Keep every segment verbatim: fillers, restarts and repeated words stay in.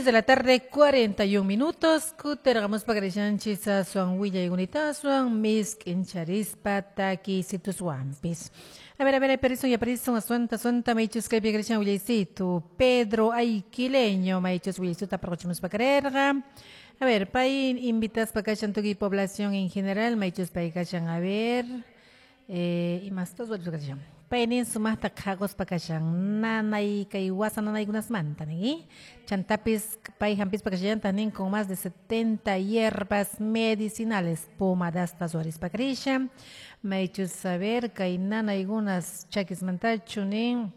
Seis de la tarde, cuarenta y un minutos. Kutergamos pakarishanchis aswan willaykunita misk'incharispa takisituswanpis. A ver, a ver, aparisun yaparisun asuanta asuanta maychus kaypi karishan willaysitu. Pedro Aiquileño maychus willaysuta parquchimuspa karerqa. A ver, pay invitaspa kashan tukuy población en general maychus pay kashan, a ver, eh, imastas kashan. Paynin sumaqta qhaquspa kashan nanay kay wasa nanaykunasmanta nin, chantapis pay hampispa kashallantaq nin con más de setenta hierbas medicinales pomadasta ruwarispa karishan maychus saber kay nanaykunas chakismantachu nin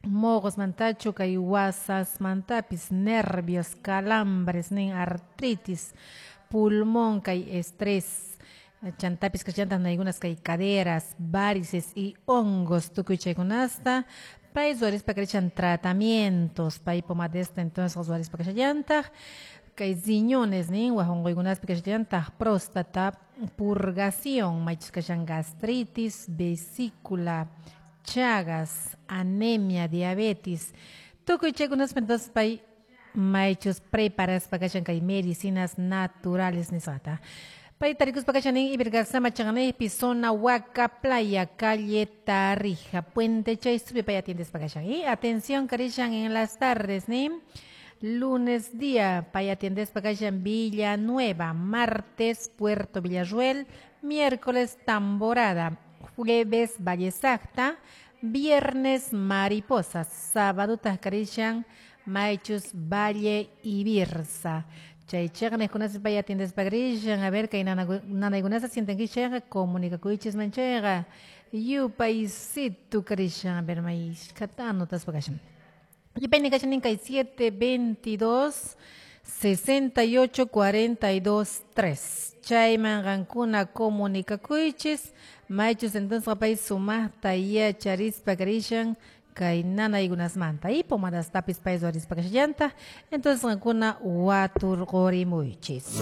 moqosmantachu kay wasasmantapis nervios calambres nin artritis pulmón kay estrés chantapis kashallantaq nanaykunas kay caderas, varices y hongos tukuy chaykunasta pay ruwarispa karishan tratamientos pay pomadesta entonces ruwarispa kashallantaq kay riñones nin waj unquykunaspi kashallantaq próstata purgación maychus kashan gastritis, vesícula, chagas, anemia, diabetes tukuy chaykunaspi entonces pay maychus preparaspa kashan kay medicinas naturales nisqata. Pay tarikuspa kashan nin Ibergasama chaqanaypi zona Huaca Playa, calle Tarija, Puente Chaysupi pay atiendespa kashan. Y atención karishan en las tardes nin lunes día pay atiendespa kashan Villanueva, martes Puerto Villarruel, miércoles Tamborada, jueves Valle Sacta, viernes Mariposas, sábado karishan Maychus Valle Ibirza. Chay chaqnaykunaspi pay atiendespa karishan, a ver kay nanaykunasta sientankichayqa comunicakuychis manchayqa yupaysitu karishan, a ver mayshkata anotaspa kashan. Yupayni kashan nin kay siete veintidós sesenta y ocho cuarenta y dos tres. Chayman qankuna comunicakuychis maychus entonces pay sumaqta yacharispa karishan kay nanaykunasmanta y pomadastapis pay ruwarispa kashallantaq entonces qankuna waturqurimuychis.